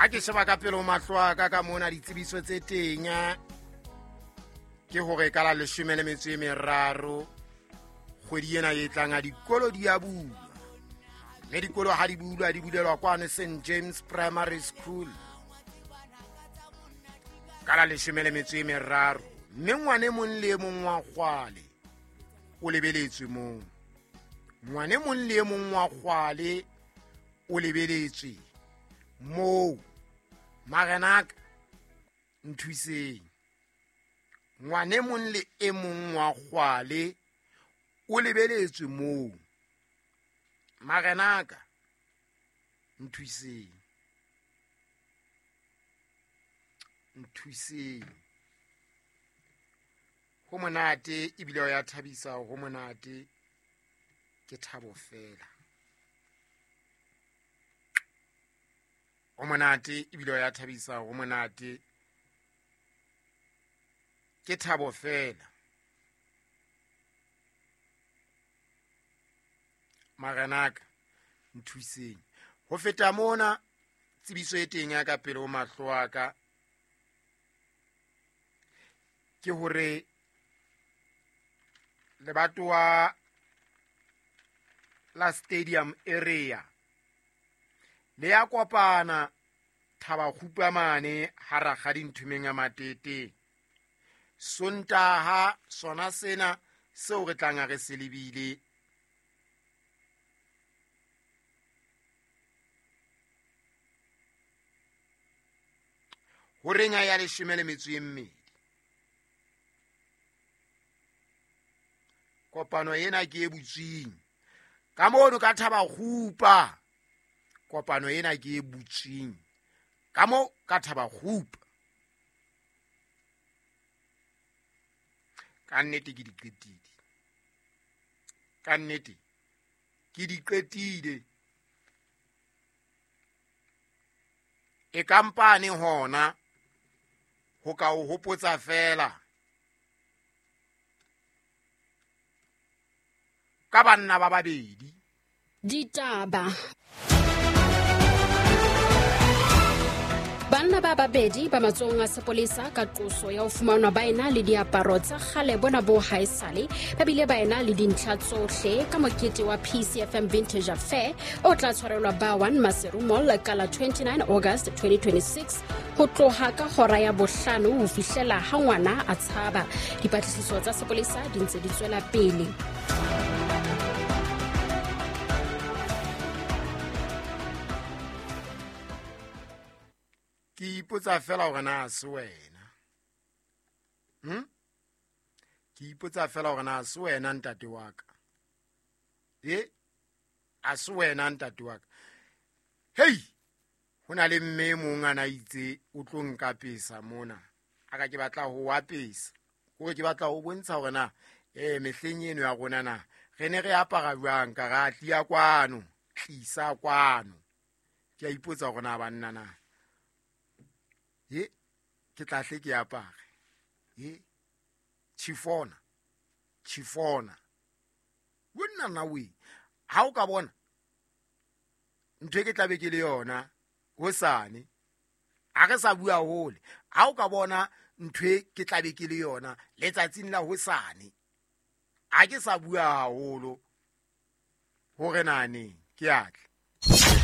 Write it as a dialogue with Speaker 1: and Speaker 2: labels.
Speaker 1: Ha ke sheba ka pele ho mahlo a ka ka mona, ditsebiso tse teng ke hore ka la 13 kgwedi ena e tlang a dikolo di a bulwa, mme dikolo ha di bulwa di bulelwa kwano St James Primary School ka la 13, mme ngwane mong le e mong wa kgwale o lebeletswe moo. Ngwane mong le e mong wa kgwale o lebeletswe moo. Marenaka nthuseng, ngwane mong le e mong wa kgwale o lebeletswe moo. Marenaka nthuseng, nthuseng. Ho monate ebile ho ya thabisa, ho monate ke thabo fela. Ho monate ebile ho ya thabisa, ho monate ke thabo fela. Marenaka nthuseng. Ho feta mona, tsebiso e teng ya ka pele ho mahlo a ka ke hore lebatowa la stadium area le ya kopana Thabakgupa mane ha Rakgadi Nthumeng ya Matete. Sontaha sona sena seo re tlang re se lebile horeng ya 12. Kopano ena ke e butsweng ka mono ka Thabakgupa. Kopano ena ke e butsweng ka mo ka Thabakgupa. Ka nnete ke di qetile, ka nnete ke di qetile. E kampane hona ho ka o hopotsa fela ka banna ba babedi.
Speaker 2: Ditaba. Banna ba babedi ba matsohong a sepolesa ka qoso ya ho fumanwa ba ena le diaparo tsa kgale bona bo haesale, ba bile ba ena le dintlha tsohle ka mokete wa PCFM Vintage Affair o tla tshwarelwa ba 1 Maseru Mall ka la 29 August 2026 ho tloha ka hora ya 5 ho fihlela ha ngwana a tshaba. Dipatlisiso tsa sepolesa di ntse di tswela pele.
Speaker 1: Ke ipotsa fela hore na se wena. Ke ipotsa fela hore na se wena ntate wa ka. A se wena ntate wa ka. Hei, ho na le mme e mong a na itse o tlo nkapesa mona. A ka ke batla ho apesa. Hore ke batla ho bontsha hore na mehleng eno ya rona na re ne re apara jwang, ka ra tlia kwano, tlisa kwano. Ke a ipotsa hore na banna na ke tla hle ke apare. Chifona, chifona. Wena na we, ha o ka bona ntho e ke tla be ke le yona hosane, ha re sa bua hole, ha o ka bona ntho e ke tla be ke le yona letsatsing la hosane, ha ke sa bua haholo hore na neng ke a tla.